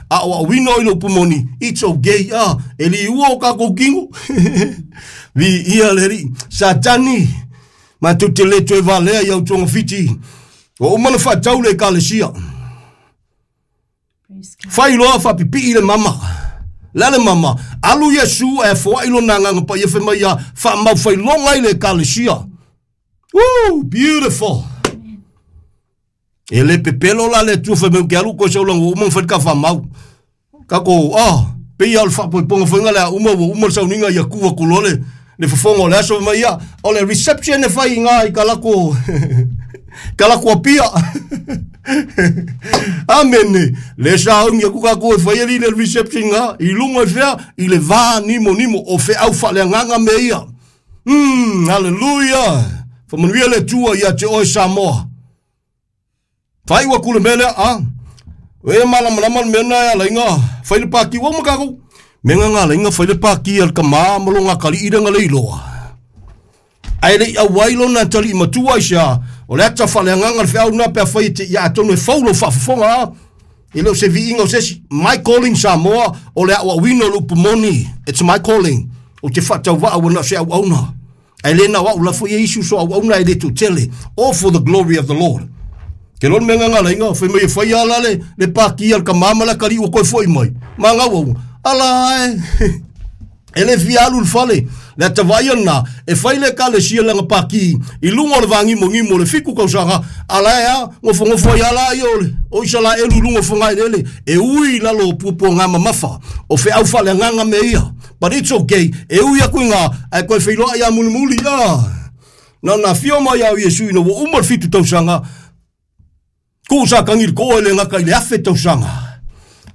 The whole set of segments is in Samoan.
Aʻoaʻoina oe i le upu moni, it's okay, a e liua o kākou kino. Viia le Alii. Satani, matou te le toe valea i au togafiti. Ua uma ona faatau le Ekalesia. Fai loa faapipii le mama. Le a le mama? Alu Iesu ae foai lona agaga paia fai mai ia faamaufailoga i le Ekalesia. Woo, beautiful. E le pepelo la le Atua fai mai ou te alu koe sau laga ua uma ona fai le ta faamau. Tatou, ah, pei lava o le faapoipoga foi lena le a uma ua uma le sauniga ia tu atu loa le, le fofoga o le aso fai mai ia, o le reception e fai i ina i Kalako, Kalako Apia. Amene. Le sauni atu tatou e fai ali le reception ina, i luga i fea, i le va nimonimo o feau faaleagaga mea ia. Hallelujah. Faamanuia le Atua ia te oe Samoa. Faaiu atu le mea lea, a. E malamalama le mea na e ala ai na fai le pati ua uma tatou. Mea na na ala ai na fai le pati a le tama ma lona atalii lea na le iloa. Ae le i auai lona atalii matua aisea, o le ata faaleagaga le feau lena pe afai e te ia atonu e fou lou faafofoga a. E le o se viiga o se isi. My calling Samoa, o le aoaoina o le upu moni. It's my calling. Ou te faatauvaa ua na o se auauna. Ae le na o au la foi e isi uso auauna e le toatele. All for the glory of the Lord. Ke loa le mea nganga lainga, fai mai e fai ala le, le paki al ka mama la kali ua koe foi mai. Ma ngau au, ala e. E le fia alu le fale, le atavaia na, e fai le ekalesia lana paki i luga o le vāgimogimo o le 7 tausaga, a la e a, nofonofo ai lava ia o le, o Isalaelu i luga o fogaeleele, e ui i lalo o puapuaga mamafa, o feau faaleagaga mea ia. But it's okay, e ui atu i gā, ae toe feiloai lava mulimuli, ah. Na ona afio mai lava o Iesu ina ua uma le 7 tausaga, Tuu sa tagi le toa e le gata i le 1000 tausaga.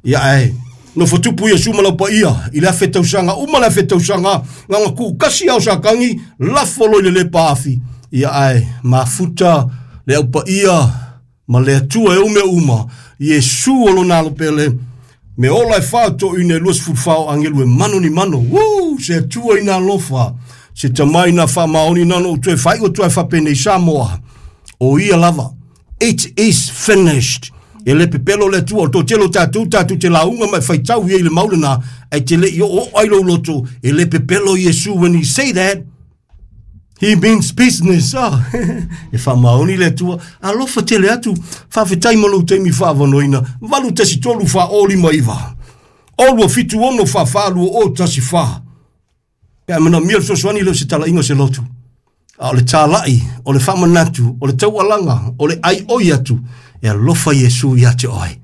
Ia ae nofo tupu Iesu ma lau paia i le 1000 tausaga, uma le 1000 tausaga, na ona tuu tasi lava o Satani, lafo loa i le lepa afi. Ia ae mafuta le au paia ma le Atua e ou mea uma, Iesu o lona alo pele, me ola e fa o toeaina e 24 o agelu e mano ni mano. Woo! Se Atua ina alofa, se tama ina faamaoni na ona ou toe faaiu atu ai faapenei Samoa, o ia lava. It is finished. E le pepelo le Atua, o le toatele o tatou, tatou te lauga ma e faitau i ai i le mau lena, ae te le i oooo ai lou loto, e le pepelo Iesu when he say that, he means business. Oh. E faamaoni le Atua, alofa tele atu, faafetai mo lou taimi faavanoina, 8 1 3 4 0 5 9, 0 2 7 6 4 4 2 0 1 4. Pe a manaomia le fesoasoani, le o se talaiga o se lotu. A o le talai, o le faamanatu, o le taualaga, o le aioi atu, e alofa Iesu ia te oe.